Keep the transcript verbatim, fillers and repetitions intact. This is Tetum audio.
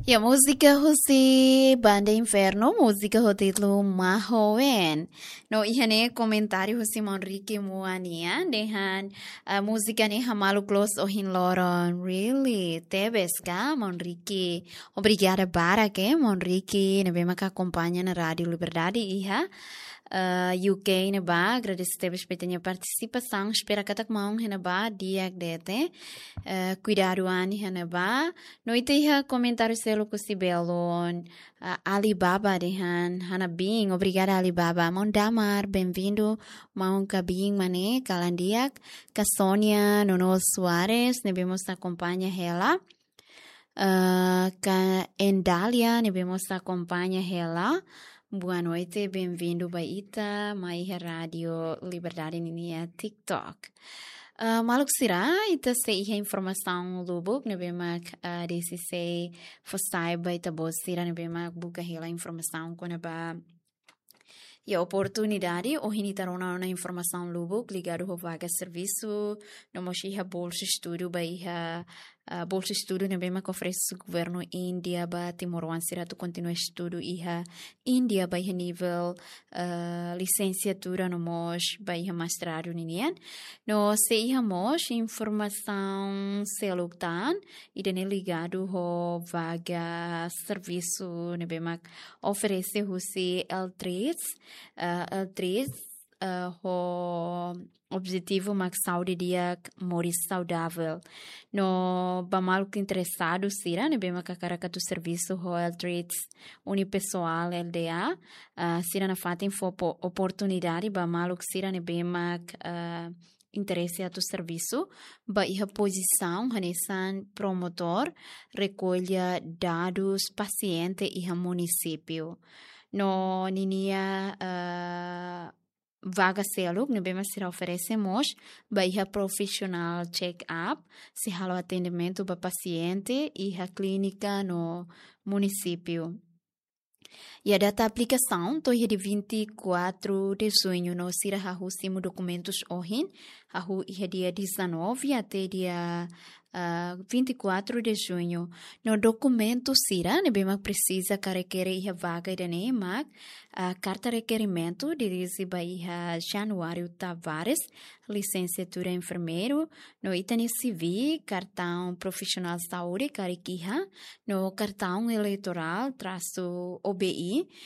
Ya, múzika husi Banda Inferno, múzika ho títulu Mahoen. No iha ne'e komentáriu husi Maun Ricky Muania, dehan, ah, múzika ne'e hamaluk loos ohin loron. Really? Tebes ka, Maun Ricky? Obrigada barak, Maun Ricky, ne'ebé maka akompaña ona Rádiu Liberdade iha eh, U K ne'ebá, agradese tebes ba ita-nia partisipasaun, espera katak maun iha ne'ebá di'ak de'it, eh, kuidadu an iha ne'ebá. No ita iha komentáriu seluk husi belun, eh, Alibaba dehan, hanabiin, obrigada Alibaba. Maun Damar, benvindu, maun kabiin mak ne'e, kalan di'ak, ka Sonia Nono Soares, ne'ebé mós akompaña hela. Eh, ka Endalia, ne'ebé mós akompaña hela. Boa noite, benvindu ba ita, mai iha Rádiu Liberdade ninia TikTok. Eh, maluk sira, ita sei iha informasaun lubuk, ne'ebé mak, eh, desde sei fó sai ba ita-boot sira, ne'ebé mak buka hela informasaun kona-ba iha oportunidade, ohin ita rona ona informasaun lubuk ligadu ho vaga servisu, no mós iha bolsa estudu ba iha, ah, bolsa estudu ne'ebé mak oferese governu Índia ba timoroan sira atu kontinua estudu iha Índia ba iha nivel, ah, lisensiatura no mós ba iha mestradu ninian. No sei iha mós informasaun seluk tan, ida-ne'e ligadu ho vaga servisu ne'ebé mak oferese husi L três, eh, L três, eh, ho objetivu mak saúde di'ak, moris saudável. No ba maluk interesadu sira ne'ebé mak hakarak atu servisu ho L três Unipessoal L D A, eh, sira nafatin fó po-, oportunidade ba maluk sira ne'ebé mak, eh, interese atu servisu ba iha pozisaun hanesan promotór rekolla dadus pasiente iha munisípiu. No ninia, eh, vaga seluk ne'ebé mak sira oferese mós ba iha professional check-up, sei halo atendimentu ba pasiente iha klínika no munisípiu. Iha data aplikasaun to'o iha dia vinte e quatro de junho, no sira hahú simu dokumentus ohin, hahú iha dia dezanove até dia, ah, vinte e quatro de junho. No dokumentu sira ne'ebé mak presiza ka rekere iha vaga ida-ne'e mak, ah, karta rekerimentu dirije ba iha Januário Tavares, lisensiatura enfermeiru, no ita-nia C V, kartaun profisionál saúde karik iha, no kartaun eleitorál trasu O B I,